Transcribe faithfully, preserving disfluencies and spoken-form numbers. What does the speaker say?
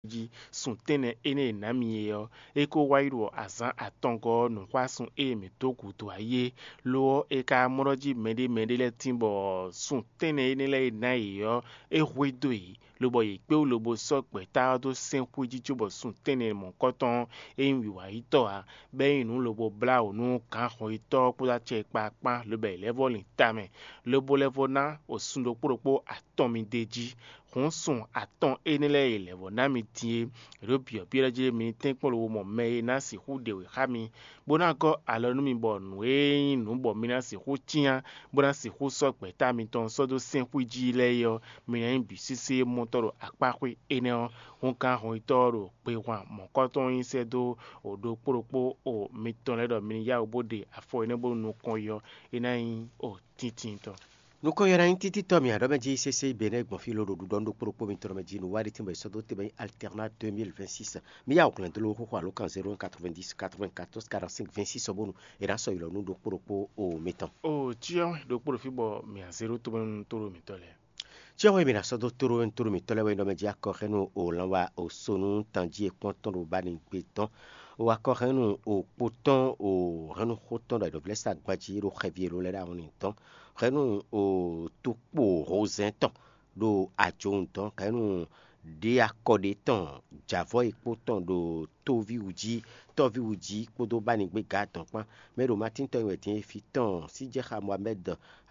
jí. Sun tɛ́nnɛ énɛ́ e nǎ mi é ɔ́, é ko wá yi ɖo azǎn atɔngɔ́ ɔ́ nǔxwásun e mǐ dó gǔdo ayé, lo ɔ́, è ka mɔ ɖɔ jí mɛɖé mɛɖé lɛ́ɛ tín bɔ sun tɛ́nnɛ énɛ́ lɛ́ɛ e ná yě ɔ́, é hwedó yě, lobɔ yě kpé wú lobo sɔ́ gbɛ̌ta ɔ́ dó sɛ́n xwé jí cóbɔ sun tɛ́nnɛ mɔ̌kɔtɔn ɔ́, é nyí wǐwayítɔ́ ǎ, bɔ é nyí nǔ lobo blá wǔ nú gǎnhɔnyitɔ́ ɔ́ kpódó acɛ e kpá kpán, lobɔ yě lɛ́ vɔ́ lin tamɛ, lobo lɛ́ vɔ́ ná wǒsun ɖokpó ɖokpó atɔn mi d'é jí. Hǔn sun atɔn énɛ́ lɛ́ɛ e è lɛ̌ vɔ́ ná mi din é, è ɖǒ byɔ̌byɔ́ jí mi ní tɛ́nkpɔ́n lobo mɔ mɛ e ná sixú ɖe wě xá mi, bó ná gɔ́ alɔ nú mi bɔ nǔ e nyí nǔ bɔ mi ná sixú cyán, bó ná sixú sɔ́ gbɛ̌ta mitɔn sɔ́ dó sɛ́n xwí jí lɛ́ɛ é ɔ́, mi ná nyí bǐ sésé mɔtɔ́ ɖo akpá xwé énɛ́ ɔ́. Hǔn gǎn hɔnyitɔ́ ɔ́ ɖo gbe hwan mɔ̌kɔ́tɔn nyi sɛ́ dó ɖokpó ɖokpó o mitɔn lɛ́ɛ ɖɔ mi ní yá wǔ bó ɖe afɔ énɛ́ bónú nukɔn yi ɔ́, é ná nyí o tíntín tɔn. Nukɔn yɔ́ ná nyí títítɔ́ mì aɖɔ́ mɛ jí sésé bɛnɛ́ gbɔn fí lóɖo ɖuɖɔ ɖokpó ɖokpó mitɔn mɛ jí nǔ wá ɖé tɛ́nbɔ sɔ́ dó tɛnbɔ nyí alternat deux mille vingt-six. Mi yá wǔ glɛ́n dó ló xóxó alǒkan zéro un quatre-vingt-dix quatre-vingt-quatorze quarante-cinq vingt-six ɔ́ bónú è nǎ sɔ́ yi lɔ nú ɖokpó ɖokpó o mitɔn. O cyɔ ɖokpó ɖo fí bɔ mì azé ɖó tómɛnu tó ɖo mǐtɔn lɛ́ɛ. Cyɔ wɛ mǐ ná sɔ́ dó tóɖó tóɖó mǐtɔn lɛ́ɛ wɛ nyí ɖɔ mɛ jí akɔhɛ́nnu o lanwa o sonu tanjí e kpɔ́n tɔn ɖo ba ní gbé tɔn. O akɔhɛ́nnu o kpo tɔn o hɛ́nnu xó tɔn ɖo ayǐɖɔ̌vlɛ́ sa gbají ɖo xɛví e ló lɛ́ ɖo awɔnlin tɔn. Hɛ́nnu o tukpo hozɛ́n tɔn ɖo ajowun tɔn. Hɛ́nnu ɖě akɔ ɖé tɔn jǎvɔ e kpo tɔn ɖo tóví wú jí, tɔ́ví wú jí kpódó bánigbéga tɔn kpán. Mɛ ɖo Matín tɔn e wɛ din e fí tɔn Síjɛxa Mohamɛ́d